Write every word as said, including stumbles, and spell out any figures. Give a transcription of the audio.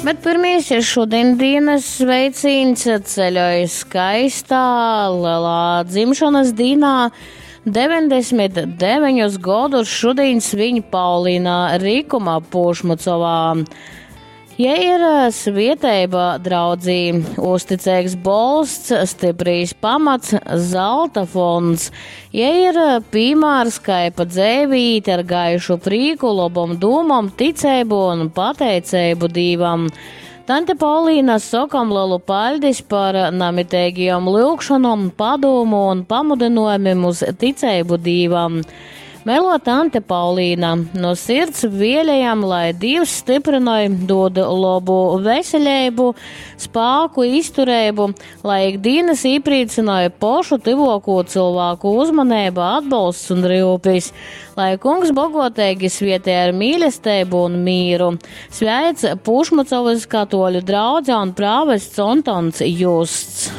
Bet pirmīs šodien dienas sveicīns ceļoja skaistā lielā dzimšanas dīnā. deviņdesmit deviņus godus šodien sviņ Paulīna Rīkuma Pušmucovā. Ja ir svieteiba draudzī, uzticīgs bolsts, stiprīs pamats, zelta fonds. Ja ir piemērs, kā pa dzēvi īt ar gaišu prīku, lobom dūmom, ticēbu un pateicēbu Dīvam. Tante Paulīna, sokam lielu paļdis par namitēgajom lyugšanom, padūmu un pamudinojumiem uz ticēbu Dīvam. Melo tante Paulīna, no sirds vēlējam, lai Dievs stiprinoj, dod labu veselību, spāku, izturību, lai ikdienas īprīcināja pošu tyvoko cilvēku uzmanību, atbalsts un rūpes, lai kungs bogotīgi svietē ar mīlestību un mīru. Sveic Pušmucovas katoļu draudze un prāvests Antons Justs.